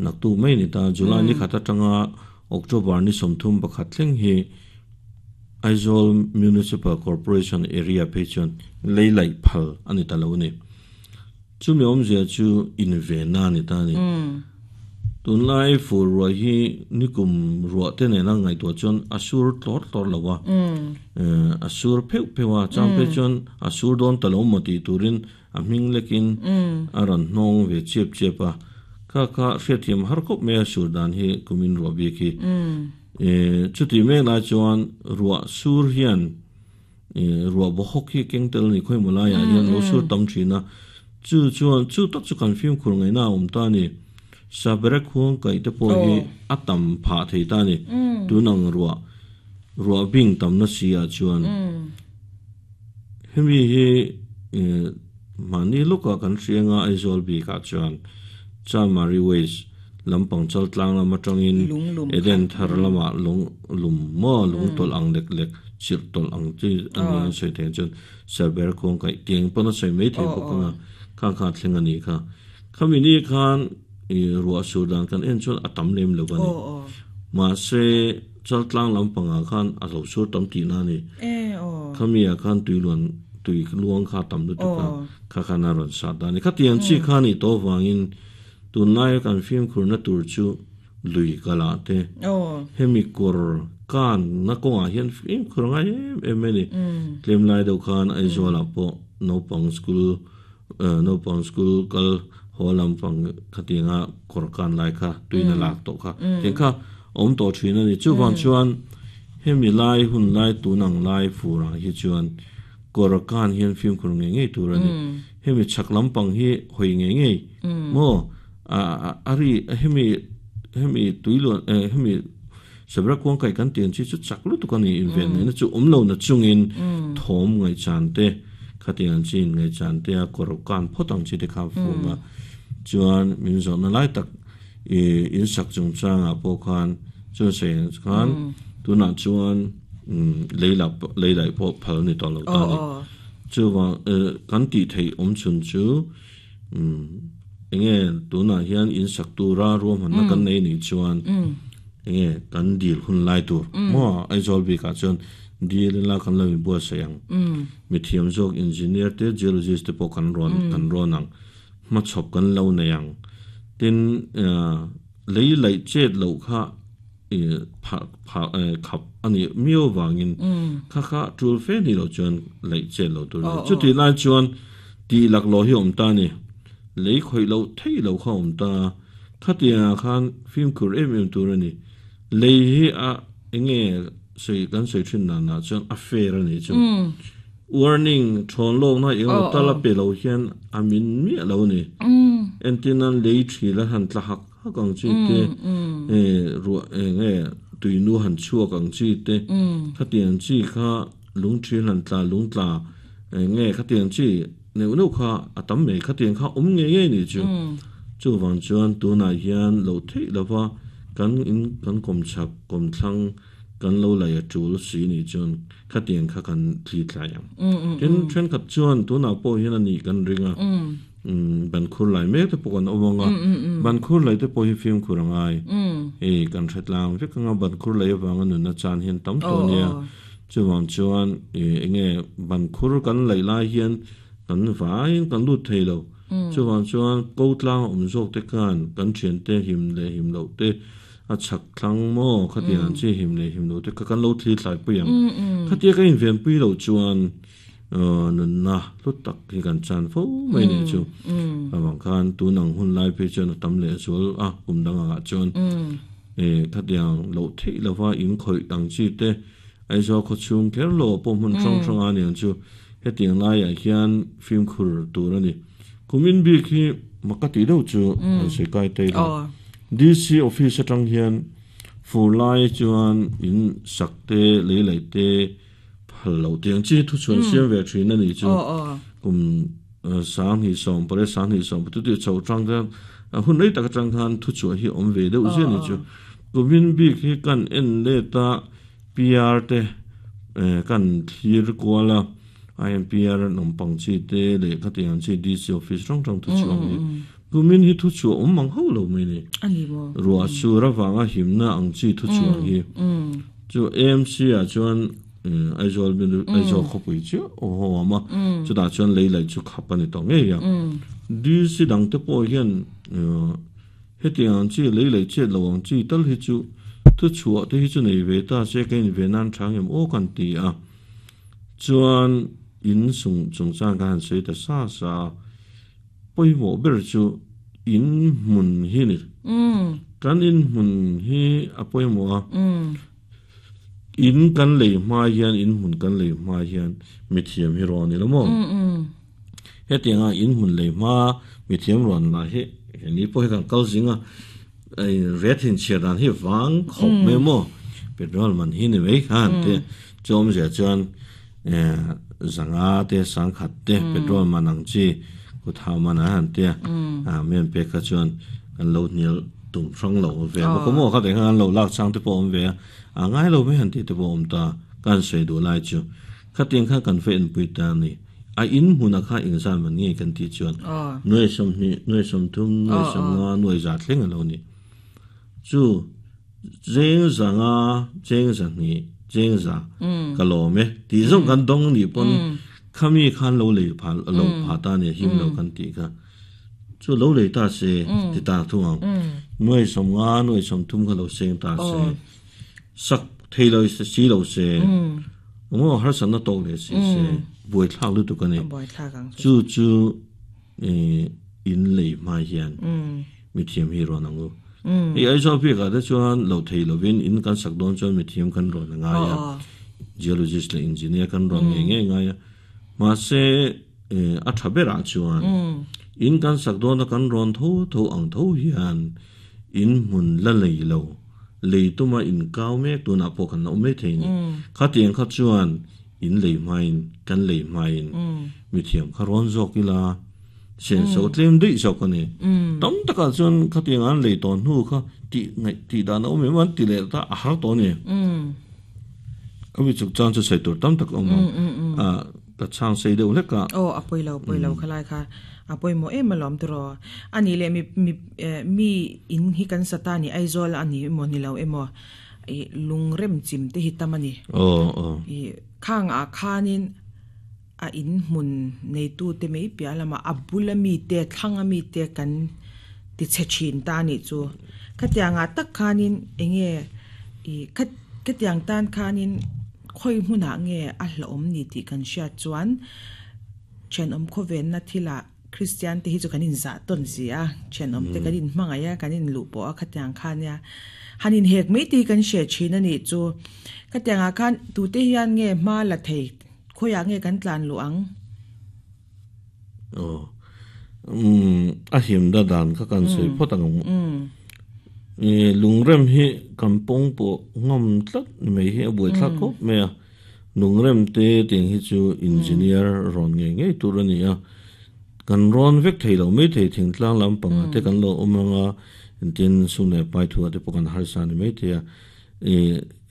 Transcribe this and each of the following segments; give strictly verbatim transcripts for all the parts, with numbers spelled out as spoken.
Nak tu mai ni ta July ni khata tanga October ni somthum pakhat thleng hi Aizawl Municipal Corporation area phei chuan lei laih phal a ni ta lo a ni. Chumi awmzia chu invenna a ni ta a ni. Tunlai fur ruah hi nikum ruah te nena ngaihtuah chuan a sur tlawr tlawr lo a, a sur pheuh pheuh a, chang phei chuan a sur dawn ta lo maw tih turin a hming lekin a rawn hnawng ve chiap chiap a. Kha kha hriatthiam har khawp mai a sur dan hi kumin ruah bik hi. Chuti mek lai chuan ruah sur hian ruah bawhawk hi keng tel a ni khawimaw laiah hian lo sur tam thin a, chu chuan chu tak chu kan fimkhur ngaihna a awm ta a ni. Saberek khuang kaih te pawh hi a tam phah thei ta a ni. Tun ang ruah ruah bing tamna si ah chuan hemi hi mahni lawkah kan hriang a Aizawl bikah chuan Chanmari Waste lampang chal tlang lam atangin Eden thar lamah lung lum maw lung tawlh ang lek lek chirh tawlh ang chi a ni an sawi thei chuan Saber khuang kaih tiang pawn a sawi mai thei bawk anga khang kha a thleng a nih kha. Khami ni khan ruah sur dan kan en chuan a tam lem lo a ni. Mahse chal tlang lampangah khan a lo sur tam tihna a ni. Khami ah khan tui luan tui luang kha tam lutuk a, kha khan a rawn sat a ni. Khatiang chi kha nih tawh avangin tunlaia kan fimkhurna tur chu lui kalah te, hemi kawr kanna kawngah hian fimkhur a ngai em em a ni. Tlem lai deuh khan Aizawlah pawh naupang school naupang school kal haw lampang khatianga kawr kan lai kha tuina lak tawh kha tiang kha awm tawh thin a ni. Chuvang chuan hemi lai hun lai tun ang lai furah hi chuan kawr kan hian fimkhur ngei ngei tur a ni. Hemi chhak lampang hi hawi ngei ngei maw a ri hemi hemi tuiluan hemi sabra kuang kaih kan tih ang chi chu chak lutuk a ni inven ngaihna chu awm lo na chungin thawm ngaihchan te khatiang ang chi in ngaihchan te a kawr kan phawt ang chi te kha fung a chuan min zawhna lai tak in sak chungchangah pawh khan chuan sawi ang khan tunah chuan lei lah lei laih pawh phal a ni tawh lo ta a ni. Chuvang kan tih theih awm chhun chu enge tunah hian in sak tura ruahmanna kan nei nih chuan enge kan dil hun lai tur maw Aizawl bikah chuan dil ila kan lo inbuatsaih ang. Mithiam zawk engineer te geologist te pawh kan rawn kan rawn ang hmachhawp kan lo nei ang. Tin lei laih chet loh kha khap a nih miau vangin kha kha tul fe ni loh chuan laih chet loh tur a ni. Chutih lai chuan tih laklawh hi a awm ta a ni. Lei khawih loh theih loh kha a awm ta a. Khatiangah khan fimkhur em em tur a ni. Lei hi a enge sawi kan sawi thin danah chuan a fair a nih chu. Warning thawn lawkna eng emaw tal a pe lo hian a min miah lo a ni. Entir nan lei thil a han tla hak hak ang chi te, ruah eng nge tuinu han chhuak ang chi te, khatiang chi kha lung thil han tla lung tla eng nge khatiang chi neuh neuh kha a tam mai khatiang kha awm ngei ngei nih chu. Chuvang chuan tunah hian loh theih lova kan in kan kawmchhak kawmthlang kan lo lei a tul si nih chuan khatiang kha kan thli thlai ang. Tin thenkhat chuan tunah pawh hian a nih kan ring a, ban khur lai mek te pawh kan awm ang a, ban khur lei te pawh hi fimkhur a ngai. Hei kan hre tlang vek ang a, ban khur lei avanga nunna chan hian tam tawh a nia. Chuvang chuan eng nge ban khur kan laih lai hian kan vaiin kan lut thei lo. Chuvang chuan ko tlang a awm zawk te khan kan thiante him leh him loh te a chhak thlang maw khatiang ang chi him leh him loh te kha kan lo thli thlai pui ang. Khatia ka inven pui loh chuan nunna hlu tak hi kan chan fo mai nih chu. Avang khan tun ang hun lai phei chuan a tam leh zual a kum dang angah chuan khatiang loh theih lova in khawih ang chi te Aizawl khawchhung kher lo pawh hmun hrang hrang a niang chu hetiang laiah hian fimkhur tur a ni. Kumin bik hi mak ka tih deuh chu an sawi kai ta ila. D C office atang hian fur lai chuan in sak te lei laih te phal loh tiang chi thuchhuan siam ve thin a nih chu. Kum sanghnih sawm pariat sanghnih sawm patu tih chho atang khan hun rei tak atang khan thuchhuah hi awm ve deuh zia a nih chu. Kumin bik hi kan en let a P R te kan thlir kual a, I M P R an awm pang chi te leh khatiang chi D C office hrang hrang thu chhuak hi Kumin hi thu chu om mang ho lo mai ni ani mo ruwa chu ra wanga himna ang chi thu chu hi chu A M C a chuan Aizawl bin Aizawl khopui chu o ho ama chu da chuan lei lai chu khapani to nge ya D C dang te po hian hetiang chi lei lei che lo ang chi tal hi chu thu chu te hi chu nei ve ta se ke in ve nan thang em o kan ti a chuan in sung chung chang kan sei ta sa sa poimo ber chu in mun hi ni kan in mun hi a poimo a in kan lei ma hian in mun kan lei ma hian mi thiam hi ro ni lo mo hetianga in mun lei ma mi thiam ron la hi ni po hi kan kal zinga ai ret hin chiran hi wang khop me mo petrol man hi ni wei khan te chom je chuan zanga te sang khat te petrol man ang chi ku thau man a han te a men pe kha chuan kan lo nil tum rang lo ve mo ko mo kha te khan lo lak chang te po om ve a ngai lo me han ti te po om ta kan sei du lai chu kha tiang kha kan fe en pui ta ni a in huna kha ing san man nge kan ti chuan noi som ni noi som thum noi som nga noi za thleng lo ni chu jeng zanga jeng za ni jeng za ka lo me ti zong kan dong ni pon khami khan lo le pha lo pha ta ne him lo kan ti kha chu lo le ta se ti ta thuang noi som nga noi som thum kha lo seng ta se sak thei lo se si lo se mo har san na to le si se bui thak lu tu ka ne chu chu in lei ma hian mi thiam hi ro nangu ei ai zo pi ka de chuan lo thei lo win in kan sak don chuan mi thiam kan ro na nga ya geologist le engineer kan ro nge nge nga ya ma se a thabera chuan in kan sak don kan ron tho tho ang tho hian in mun la lei lo lei tuma in kau me tu na po kan na me thei ni kha tiang kha chuan in lei main kan lei main mi thiam kha ron zok ila sen so tlem dei so ko ni tam taka chuan kha tiang an lei ton hu kha ti ngai ti da na me man ti le ta a har to ni abi chuk chan chu sei tur tam tak om a ta chang sei deuh lek a o apoi lo poi lo khalai kha apoi mo em malom tro ani le mi mi mi in hi kan satani Aizawl ani mo ni lo emo i lungrem chim te hi tamani o o i khang a khanin a in mun nei tu te mei pia lama abula mi te thlanga mi te kan ti che chin ta ni chu khatianga tak khanin enge i khat khatiang tan khanin khoi hmuna nge a hlom ni ti kan hria chuan chen om khoven na thila Christian te hi chu kanin za ton zia chen om te kanin hmangaya kanin lu po a khatiang khania hanin hek mei ti kan she chin ani chu khatianga khan tu te hian nge ma la thei khoya nge kan tlan lu ang o um a him da dan kha kan sei photang e lungrem hi kampong po ngam tlat mei hi boi thla khop me a lungrem te ting hi chu engineer ron nge nge tur ani a kan ron vek thei lo mei thei thing tlang lam panga te kan lo omanga tin sune pai thua te pokan har sa ni mei thea e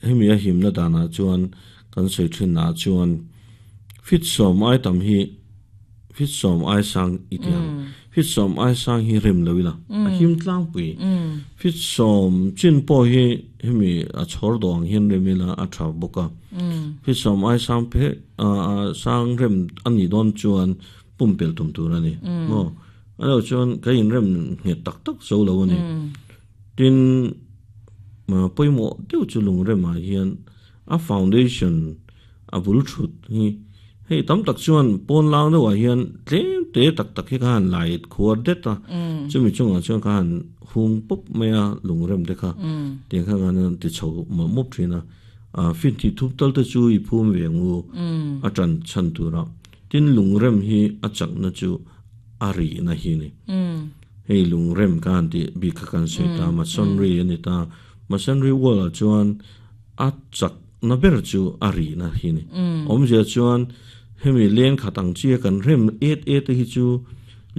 hemi a him na dana chuan kan sei thin na chuan fit som ai tam hi fit som ai sang itiang fit som ai sang hi rem lowila a him tlang pui fit som chin po hi hemi a chhor dong hin remila a tha boka fit som ai sang phe a sang rem ani don chuan pumpel tum tur ani mo ano chuan ka in rem nge tak tak zo lo ani tin ma poimo deuh chu lung rem a hian a foundation a bul thut hi hei tam tak chuan pon lang deuh ah hian tlem te tak tak hi khan lai khuar det a chumi chungah chuan khan hung pop mai a lung rem te kha tiang kha khan ti chho ma mop thina a fin ti thup tal te chu i phum ve ngu a tran chan tura tin lung rem hi a chak na chu a ri na hi ni hei lung rem kan ti bi kha kan sei ta masonry ani ta masonry wall ah chuan a chak na ber chu a ri na hi ni awm zia chuan hemi len khatang chi kan rem et et hi chu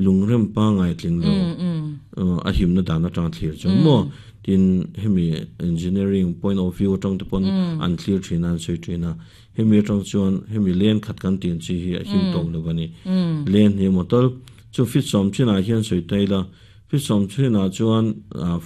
lung rem pa ngai tling lo a him na dana tang thlir chu mo tin hemi engineering point of view tang te pon an thlir thina an sei thina hemi tang chuan hemi len khat kan tin chi hi a him tong lo bani len hi motor chu fit som china hian sei taila Fi som thin ah chuan ah